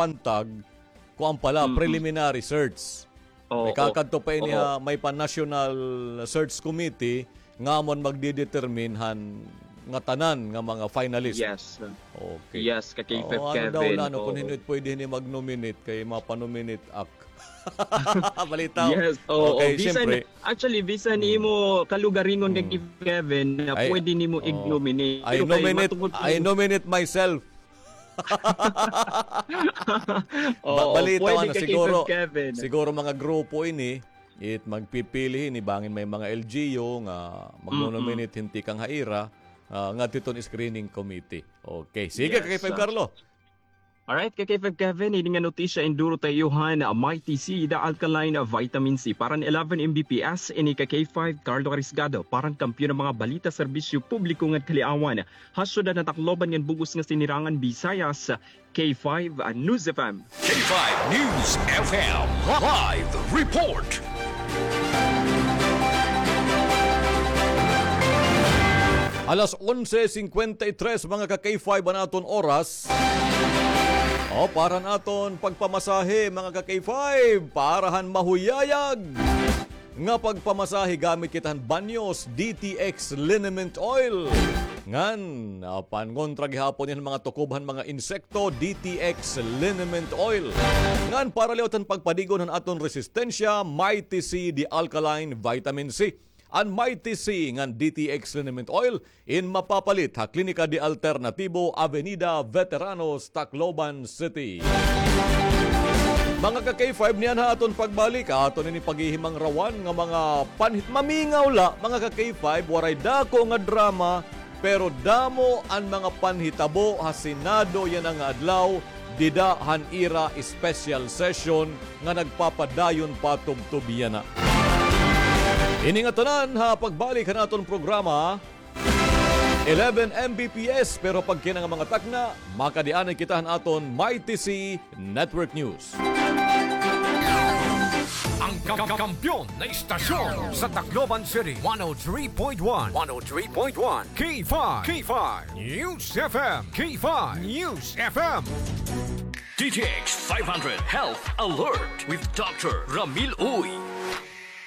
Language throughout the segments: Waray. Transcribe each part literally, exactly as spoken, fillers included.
pantag, kuan pala, Mm-mm. preliminary search. Oo. May kakadto pa ini Oho. ha, may pa National Search Committee nga amon magdidetermine han ngatanan nga mga finalist. Yes. Okay. Yes, ka K five Oo, ano daw Kevin. la, no, kung Oo. hin-o it pwede hini mag-nominate kay mapa-nominate ak. Balita. Yes, oo. Okay, Bisan, siyempre. actually, bisan Mm. imo kalugaringon kay Mm. K five Kevin na Ay, pwede nimo oo. ig-nominate. I Pero kay nominate, matungod I kung nominate myself. Ba-, Oo, balita pwede man, ka, siguro, Kevin. siguro mga grupo ini, it magpipili ini, bangin may mga L G U nga Mm-mm. magno-nominate hin tikang ha ira, ah, ngadto hiton screening committee. Okay, sige, Yes, K five ah. Carlo. Alright, ka K five Kevin, ini nga notisya in duro ta iyo han Mighty C, the alkaline vitamin C. Para han eleven M B P S, ini ka K five Carlo Carisgado, para han kampiyon nga mga balita, serbisyo publiko ngan kaliawan. Ha syudad han Tacloban ngan bug-os nga sinirangan Visayas, K five News F M. K five News F M live report. Alas onse cincuenta y tres, mga ka K five, an aton oras. O, para han aton pagpamasahe, mga ka K five, para han mahuyayag nga pagpamasahe, gamit kita han Banyos D T X Liniment Oil. Ngan, ah, pangontra gihapon niyan mga tukob han mga insekto, D T X Liniment Oil. Ngan, para liwat han pagpadigon han aton resistensya, Mighty C, the alkaline vitamin C. An Mighty C ngan D T X Liniment Oil, in mapapalit ha Klinika de Alternatibo, Avenida Veteranos, Tacloban City. Mga ka K five, niyan ha aton pagbalik, aton ini paghihimangrawan nga mga panhit-, mamingaw la, mga ka K five, waray dako nga drama, pero damo an mga panhitabo ha Senado yana nga adlaw, dida han ira special session nga nagpapadayon pa tubtob yana. Ini nga tanan ha pagbalik han aton programa, eleven M B P S, pero pagkina nga mga takna, makadianay kita han aton Mighty C Network News. Ang kam-, kampiyon na istasyon sa Tacloban City, one oh three point one, one oh three point one, K five, K five News F M, K five News F M. D T X five hundred Health Alert with Doctor Ramil Uy.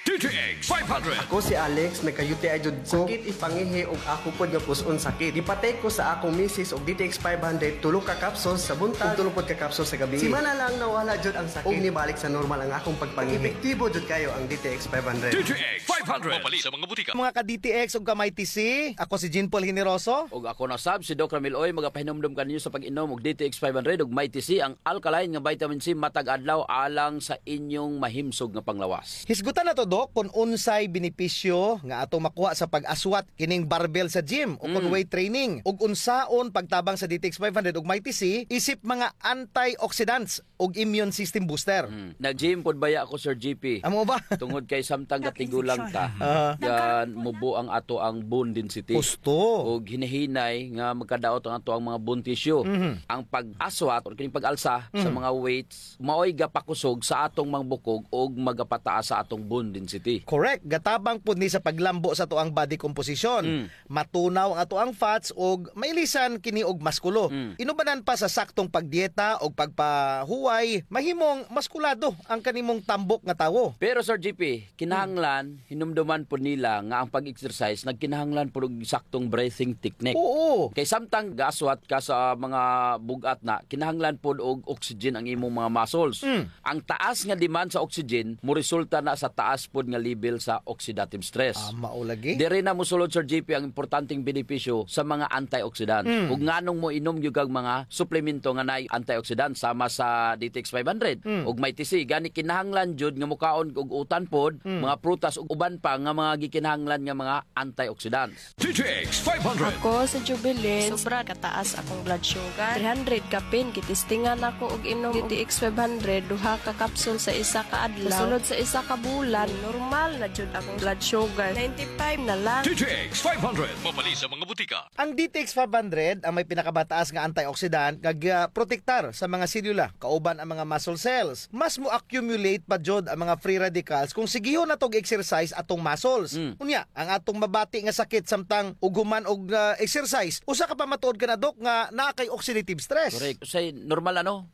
D T X five hundred. Ako si Alex, nagka-U T I jud ko. Sakit it pangihi ug ako pod nga pus-on sakit. Gipatake ko sa akong misis og D T X five hundred, tulo ka capsules sa buntag ug tulo pod ka capsules sa gabii. Semana lang nawala jud ang sakit ug nibalik sa normal ang akong pagpangihi. Epektibo jud kayo ang D T X five hundred. D T X five hundred. Mapalit sa mga butika. Mga ka-D T X ug ka-Mighty C, ako si Jean Paul Generoso. Ug ako na sab, si Doc Ramil Uy, magapahinumdom kaninyo sa pag-inom og D T X five hundred ug Mighty C, ang alkaline nga vitamin C matag adlaw alang sa inyong mahimsog nga panglawas. Hisgutan nato, Doc, kon unsay benepisyo nga atong makuha sa pag-aswat kining barbell sa gym o kon Mm. weight training, ug unsaon pagtabang sa D T X five hundred ug Mighty C isip mga antioxidants ug immune system booster. Mm. Nag-gym pod baya ako, Sir G P. Amo ba? Tungod kay samtang gatigulang ta, Aha. gan mubo ang ato ang bone density. Husto. Ug hinahinay nga magkadaot ang ato ang mga bone tissue. Mhm. Ang pag-aswat o kining pag-alsa sa Mhm. mga weights, maoy gapakusog sa atong mga bukog ug magapataas sa atong bone density. Correct. Gatabang pud ni sa paglambo sa ato ang body composition. Mm. Matunaw ang ato ang fats ug mailisan kini og maskulo. Mm. Inubanan pa sa saktong pagdieta ug pagpahuway, mahimong maskulado ang kanimong tambok nga tawo. Pero, Sir G P, kinahanglan, hinumduman pod nila nga ang pag-exercise nagkinahanglan pod og saktong breathing technique. Oo. Kay samtang gaaswat ka sa mga bug-at na, kinahanglan pod og oxygen ang imong mga muscles. Mm. Ang taas nga demand sa oxygen moresulta na sa taas pod nga level sa oxidative stress. Ah, mao lagi. Diri na mosulod, Sir G P, ang importanteng benepisyo sa mga antioxidant. Mm. Ug nganong moinom gyud kag mga suplemento nga naay antioxidant sama sa D T X five hundred Mm. ug Mighty C. Gani kinahanglan jud nga mokaon og utan pod, Mm. mga prutas ug uban pa nga mga gikinahanglan nga mga antioxidants. D T X five hundred. Ako si Jubilin. Sobra kataas akong blood sugar. Three hundred kapin, gitistingan ako og inom D T X five hundred, duha ka capsule sa isa ka adlaw. Sulod sa isa ka bulan, normal na jud akong blood sugar. Ninety-five na lang. D T X five hundred. Mapalit sa mga butika. Ang D T X five hundred ang may pinakamataas nga antioxidant nga gaprotektar sa mga selula, kauban ang mga muscle cells. Mas mo-accumulate pa jud ang mga free radicals kung sigihon natog exercise atong muscles. Mm. Unya, ang atong mabati nga sakit samtang ug human og, ah, exercise, usa ka pamatuod kana, Doc, nga naa kay oxidative stress. Correct. Usahay normal, ano?